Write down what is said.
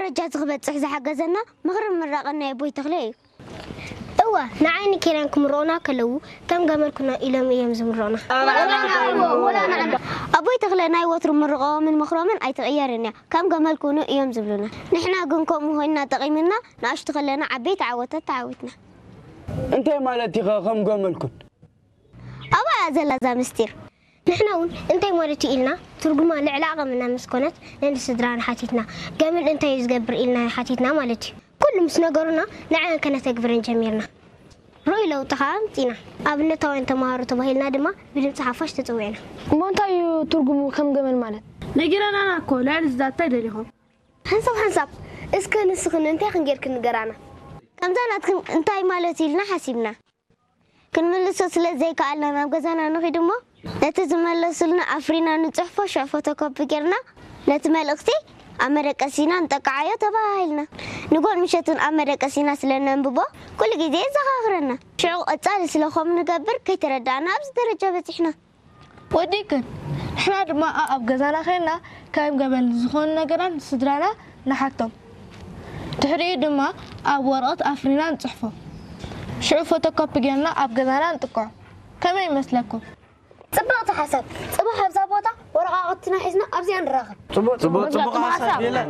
ደረጃ እዚ ክበጽሕ ዝሓገዘና ምኽርን ምራቕን ናይ ኣቦይ ተኽለ እዩ። እወ፣ ንዓይን ኬራን ክምርቑና ከለዉ ከም ገመል ኩና ኢሎም እዮም ዝምርቑና። ኣቦይ ተኽለ ናይ ወትሩ ምርቐኦምን ምኽሮምን ኣይትቕየርን እያ። ከም ገመል ኩኑ እዮም ዝብሉና። ንሕና ግን ከምኡ ኮይንና ጠቒምና ንኣሽቱ ከለና ዓበይቲ ዓወታት ተዓዊትና። እንታይ ማለት ኢኻ ከም ገመል ኩን? ኣብኣ እያ ዘላ እዛ ምስጢር። ንሕና እውን እንታይ ማለት እዩ ኢልና ትርጉማ ልዕሊ ዓቐምና ምስ ኮነት ነንስድራና ሓቲትና። ገመል እንታይ እዩ ዝገብር ኢልና ሓቲትና ማለት እዩ። ኩሉ ምስ ነገሩና ንዐን ከነተግብረን ጀሚርና። ርኡይ ለውጢ ከኣ ኣምጺና። ኣብነታውያን ተመሃሮ ተባሂልና ድማ ብድምጺ ሓፋሽ ተጸዊዕና። እሞ እንታይ እዩ ትርጉሙ ከም ገመል ማለት? ነጊረናና እኮ ልዕሊ ዝዛታይ ደሊኹም። ሓንሳብ ሓንሳብ እስከ ንስኽን እንታይ ክንጌርክን ንገራና። ከምዛ ናትክን እንታይ ማለት ኢልና ሓሲብና ክንምልሶ ስለ ዘይከኣልና ናብ ገዛና ንኺድ እሞ ነቲ ዝመለሱልና ኣፍሪና ንጽሕፎ ሽዑ ፎቶኮፒ ጌርና ነቲ መልእኽቲ ኣብ መደቀሲና ንጠቅዓዮ ተባሂልና። ንጎን ምሸትን ኣብ መደቀሲና ስለ ነንብቦ ኩሉ ግዜ የዘኻኽረና። ሽዑ ቀጻሊ ስለ ከምኡ ንገብር ከይተረዳእና ኣብዚ ደረጃ በጺሕና። ወዲእክን። ንሕና ድማ ኣብ ገዛና ኸይድና ከም ገመል ዝኾኑ ነገራት ንስድራና ንሓቶም። ድሕሪኡ ድማ ኣብ ወረቐት ኣፍሪና ንጽሕፎ። ሽዑ ፎቶኮፒ ጌርና ኣብ ገዛና ንጥቅዖ። ከመይ ይመስለኩም? ጽብቕቲ ሓሳብ። ጽባሕ ኣብዛ ቦታ ወረቓቕትና ሒዝና ኣብዚኣ ንራኸብ። ጽቡቕ ጽቡቕ ሓሳብ የለን።